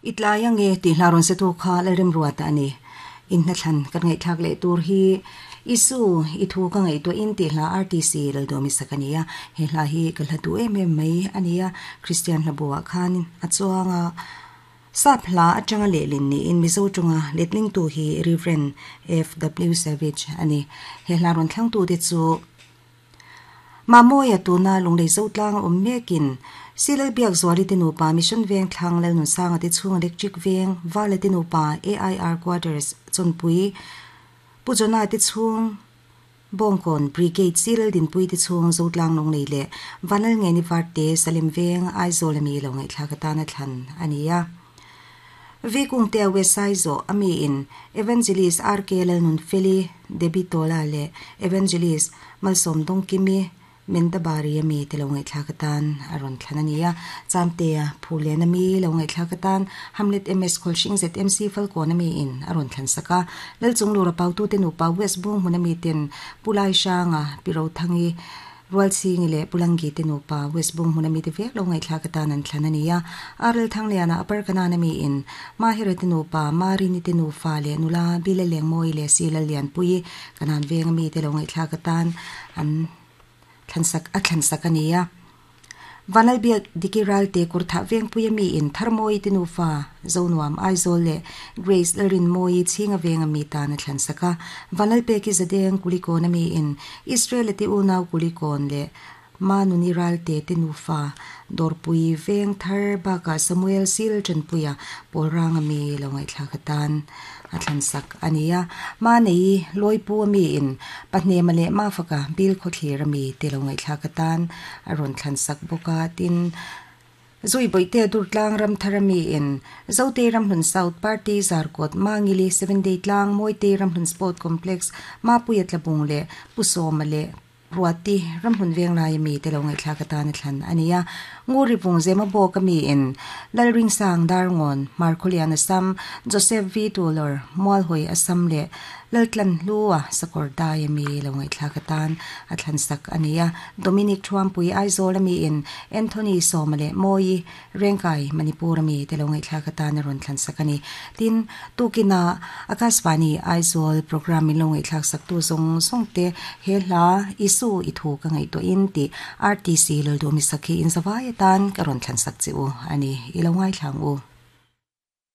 I tlai ange tih hla rawn setu kha Lalremruata a ni. In hnathlan kan ngaihthlak leh tur hi Isu i thu ka ngaihtuahin tih hla RTC Lalduami sak a ni a. He hla hi ka hla duh em em mai a ni a, Kristian hlabuah khan a chuang a. Sap hla atanga lehlin niin Mizo tawnga letlingtu hi Rev. FW Savage a ni. He hla rawn thlangtute chu. Mamawia tuna Lunglei Zotlang a awm mekin Silal Biakzuali te nupa Mission Veng thlang Lalnunsanga te chhung Electric Veng Vala te nupa AIR Quarters Chawnpui Pu Jona te chhung Bawngkawn Brigade Silal Dinpui te chhung Zotlang Lunglei leh Vanlalngeni Varte Salem Veng Aizawl ami lo ngaihthlak atana thlan a ni a. Vikungtea Wesai zawh a miin Evangelist RK Lalnunfeli, Debbie Tola leh Evangelist Malsawm Dawngkimi, Mendabari a mi te lo ngaihthlak atan a rawn thlan a ni a. Chamtea Phulen a mi lo ngaihthlak atan Hamlet MS Khawlhring ZMC Falkawn a miin a rawn thlan sak a. Lalchunglura Pautute nupa West Bunghmun a miten Pu Laihranga, Pi Rothangi, Rualchhingi leh Pulangi te nupa West Bung hmuna mite vek lo ngaihthlak atan an thlan a ni a. Arel Thangliana Upper Kanan a miin Mahira te nupa, Marini te nufa leh nula Bile Lengmawi leh Sila Lianpuii Kanan venga mite lo ngaihthlak atan an thlansak a thlansak a ni a. Vanlalbiak Diki Ralte Kurthah Vengpuia miin Tharmawi te nufa Zonuam Aizawl leh Grace Lalrinmawii Chhinga venga mi tan a thlansak a. Vanlalpeki Zadeng Kulikawna miin Israel-a te unau Kulikawn leh Manuni Ralte te nufa Dawrpui veng thar bakah Samuel Sil Tanpuia pawl ranga mi lo ngaihthlak atan a thlansak a ni a. Manei Lawipu a miin Pahnema leh Mafaka Bilkhawthlir a mi te lo ngaihthlak atan a rawn thlansak bawk a, tin, Zui Bawihte Durtlang Ramthar ami in Zote Ramhlun South Party Zarkawt Mangili Seven Day Tlang Mawite Ramhlun Sport Complex Mapuia Tlabung leh Pu Sawma leh Ruati Ramhlun Venglai ami te lo ngaihthlak atan a thlan a ni a. Nguri Vung Zema Bawk ami in Lalringsang Darngawn Hmarkhawlian Assam Joseph V Tulor Mualhawi Assam leh Laltlan Hlua Sakawr Dai ami lo ngaihthlak atan a thlan sak a ni a. Dominic Thuampui Aizawl ami in Anthony Sawma leh Mawi Rengkai Manipur ami te lo ngaihthlak atan a rawn thlan sak a ni. Tin, tukinah Akashvani Aizawl programme min lo ngaihthlak sak tu zawng zawng te he hla Isu i thu ka ngaihtuahin tih RTC Lalduhmi Sakhi in zavai atan ka rawn thlan sak che u a ni. I lo ngaithla ang u.